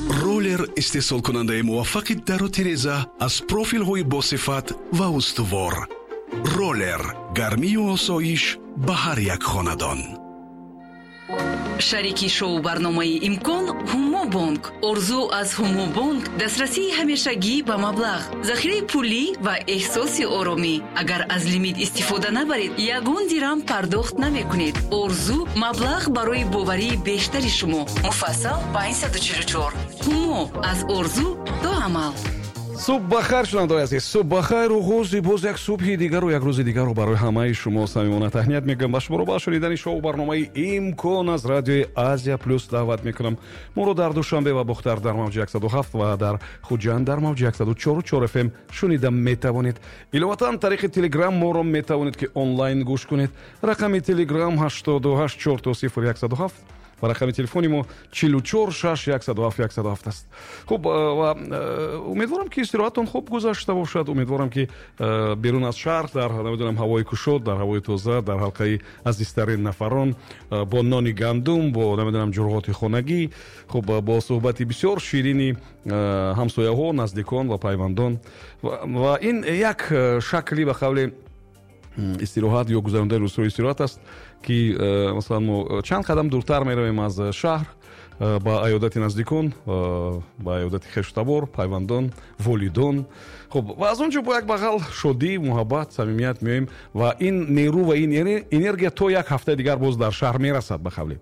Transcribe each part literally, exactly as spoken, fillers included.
Роллер истеҳсолкунандаи муваффақи дару тиреза аз профилҳои босифат ва устувор. Роллер гармию осоиш ба ҳар як хонадон. Шарики шоу барномаи «Имкон» Ҳумобонк. Орзу аз Ҳумобонк дастрасии ҳамешагӣ ба маблағ, захираи пулӣ ва эҳсоси оромӣ. Агар аз лимит истифода набаред, ягон дирам пардохт намекунед. Орзу маблағ барои боварии бештари шумо. Муфассал панҷсаду чилу чор. Ҳумо аз орзу то амал. Субҳ бахайр, шунавандаои азиз, субҳ бахайр. Оғози боз як субҳи дигару як рӯзи дигарро барои ҳамаи шумо самимона таҳният мегӯям ва шуморо ба шунидани шоу барномаи «Имкон» аз радиои Азия Плюс даъват мекунам. Моро дар Душанбе ва Бохтар дар мавҷи яксаду ҳафт ва дар Хуҷанд дар мавҷи яксаду чор F M шунида метавонед. Иловатан, тариқи Телеграм моро метавонед, ки онлайн гӯш кунед. Рақами Телеграм ҳаштоду ҳашт чор сифр яксаду ҳафт ва рақами телефони мо чилу чор шаш яксаду ҳафт яксаду ҳафт аст. Хуб, ва умедворам, ки истироҳатон хуб гузашта бошад. Умедворам, ки берун аз шаҳр, дар, намедонам, ҳавои кушод, дар ҳавои тоза, дар ҳалқаи азизтарин нафарон, бо нони гандум, бо, намедонам, ҷурғоти хонагӣ, хуб, бо суҳбати бисёр ширини ҳамсояҳо, наздикон ва пайвандон. Ва ин як шакли, ба қавле, истироҳат ё гузарондани рӯзҳои истироҳат аст, ки э, масалан, мо чанд қадам дуртар меравем аз шаҳр э, ба аёдати наздикон, э, ба аёдати хештабор, пайвандон, волидон. Хуб, ва аз он ҷо бо як бағал шодӣ, муҳаббат, самимият меоем ва ин нерӯ ва ин энергия то як ҳафтаи дигар боз дар шаҳр мерасад, ба қавле.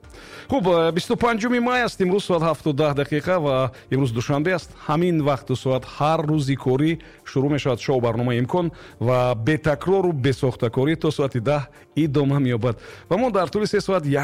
Хуб, бисту панҷуми май аст имрӯз, соат ҳафту даҳ дақиқа ва имрӯз душанбе аст. Ҳамин вақту соат ҳар рӯзи корӣ шурӯъ мешавад шоу барномаи «Имкон» ва бетакрору бесохтакорӣ то соати даҳ идома меёбад ва мо дар тӯли се соат як